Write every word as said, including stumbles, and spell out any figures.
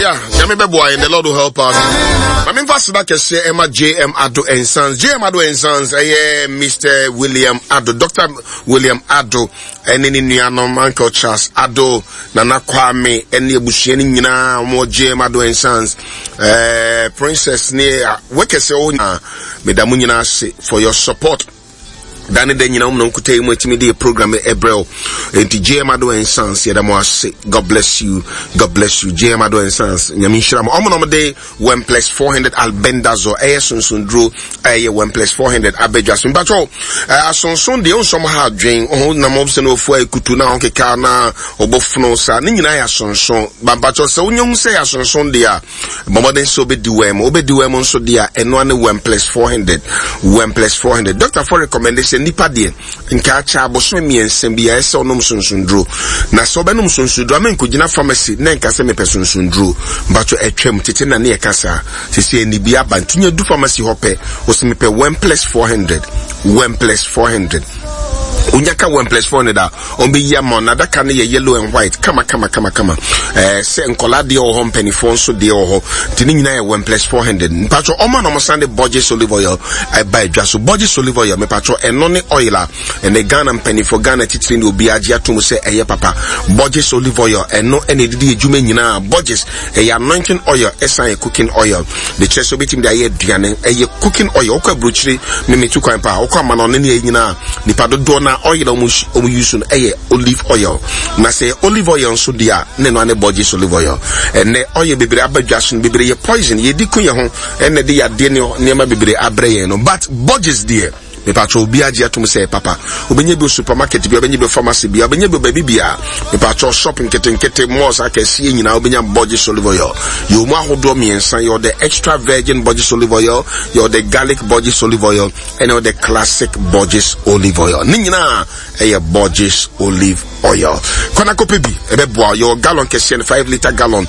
Yeah, Nyame bɛboa and the Lord will help us. Ma memfa seda kɛseɛ ɛma J M Ado and Sons. J M Ado and Sons, ɛyɛ Mister William Ado, Doctor William Ado, ɛne ne nuanom Uncle Charles Ado, Nana Kwame, ɛne abusua no nyinaa wɔn J M Ado and Sons, ɛɛ Princess ne workers ɛwɔ nyinaa, meda mo nyinaa ase for your support. Da ne da nyinaa wɔn na nkuta yi mu atumi de program ɛbrɛ wo. Nti J M Ado and Sons, yɛda mo ase. God bless you, God bless you. J M Ado and Sons, Nyame nhyira mo. Ɔmo na ɔmo de One plus four hundred albendazole, ɛyɛ sonsonduro, ɛyɛ one plus four hundred abɛdwa so. Mpatwɔ asonson deɛ nsɔm ha adwen ɔho nam ɔmo sɛ na ofu ekutu na ɔkeka na ɔbɔ fono saa ne nyinaa yɛ asonson. Bampatwɔ, sɛ wonye ho sɛ yɛ asonson deɛ a, bɔmmɔden sɛ wobɛdi wɛm, wobɛdi wɛm nso deɛ a, ɛnoa ne one plus four hundred, one plus four hundred. Doctor fo recommend sɛ nipa deɛ nka akyɛ abosome mmiɛnsa bi a ɛsɛ ɔnom sonsonduro. Na sɛ ɔbɛnom sonsonduro ama nkɔgyina pharmacy na nka sɛ mepɛ sonsonduro, mpatwɔ, ɛtwam tete na ne yɛka saa sɛ ɛni bi aba. Nti nya du pharmacy hɔ pɛ, wɔsɛ mepɛ one plus four hundred, one plus four hundred. Onya ka one plus four hundred a, ɔmbɛyi ama na adaka no yɛ yellow and white, kama kama kama kama. ɛɛ sɛ nkɔla deɛ wɔ hɔ, mpanimfoɔ nso deɛ wɔ hɔ, nti ne nyinaa yɛ one plus four hundred. Mpatwɔ, ɔma na ɔmo san de Borges olive oil ɛba adwa so. Borges olive oil, mepatwɔ, ɛno ne oil a ɛnɛ Ghana mpanimfoɔ, Ghana titiri ne obi agye atom sɛ ɛyɛ papa. Borges olive oil, ɛno ɛna ɛdidi adwuma nyinaa. Borges ɛyɛ anointing oil, ɛsan yɛ cooking oil de kyerɛ sɛ obɛtumi de ayɛ aduane. Ɛyɛ cooking oil. Wokɔ aburokyire, memetu kwan paa, wokɔ ama no ɔne ne yɛ nyinaa, nipa dodoɔ na oil a ɔmo use no ɛyɛ olive oil. Na sɛ olive oil nso deɛ a, ne no ane Borges olive oil. Ɛnɛ oil bebree aba dwa so no, bebree yɛ poison, yɛdi ko yɛ ho, ɛnɛ de yadeɛ ne nneɛma bebree abrɛ yɛn no. But Borges deɛ, mepatwɛ, obi agye atom sɛ papa. Wobɛnya bi supermarket bi, wobɛnya bi pharmacy bi, wobɛnya bi baabi bia. Mepatwɛ, shop nketenkete, malls akɛseɛ nyinaa, wobɛnya Borges olive oil. Yɛwɔ mu ahodoɔ mmiɛnsa: yɛwɔ the extra virgin Borges olive oil, yɛwɔ the garlic Borges olive oil, ɛna yɛwɔ the classic Borges olive oil. Ne nyinaa ɛyɛ Borges olive oil. Kɔnakɔpɛ bi, ɛbɛboa. Yɛwɔ gallon kɛseɛ no, five litre gallon.